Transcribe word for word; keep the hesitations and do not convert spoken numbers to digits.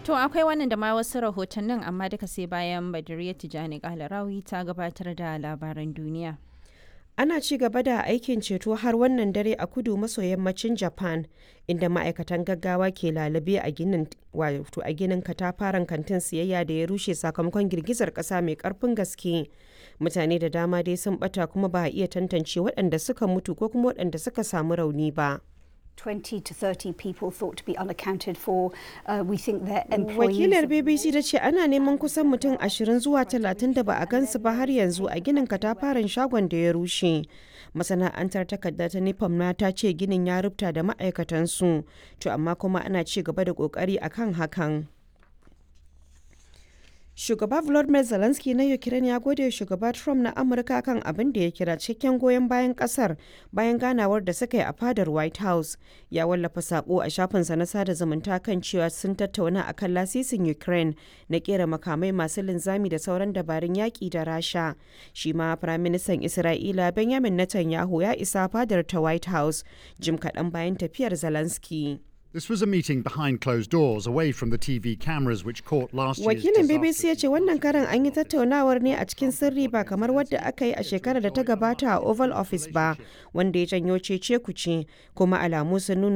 To akwai wannan da ma wasu rahotannin, amma duka sai bayan Badiriya Tijani Kalarawi ta gabatar da labaran duniya. Ana ci gaba da aikin ceto har wannan dare a kudu maso yammacin Japan, inda ma'aikatan gaggawa ke lalube a ginin wato a ginin katafaren kantin siyayya da ya rushe sakamakon girgizar kasa mai karfin gaske. Mutane da dama dai sun bata, kuma ba a iya tantance waɗanda suka mutu ko kuma waɗanda suka samu rauni ba. twenty to thirty people thought to be unaccounted for. Uh, we think their employees. Wakilar B B C ta ce ana neman kusan mutum ashirin zuwa talatin da ba a gansu ba har yanzu a ginin katafaren shagon da ya rushe. Masana'antar takarda ta Nippon na ta ce ginin ya rubuta da ma'aikatansu, to amma kuma ana ci gaba da kokari akan hakan. Shugaba Volodymyr Zelensky na Ukraine ya gode shugaba Trump na Amurka kan abin da ya kira cikakken goyon bayan kasar bayan ganawar da suka yi a fadar White House. Ya wallafa sako a shafinsa na sada zumunta kan cewa sun tattauna akan lasisin Ukraine na kera makamai masu linzami da sauran dabarun yaƙi da Rasha. Shi ma Firaministan Isra'ila Benjamin Netanyahu ya isa fadar ta White House jim kaɗan bayan tafiyar Zelensky. This was a meeting behind closed doors, away from the T V cameras which caught last year's Wakilin B B C ya disaster. ce wannan karan an yi tattaunawar ne a cikin sirri, ba kamar wadda aka yi a shekarar da ta gabata a Oval Office ba, wanda ya janyo cece kuce, kuma alamu sun nuna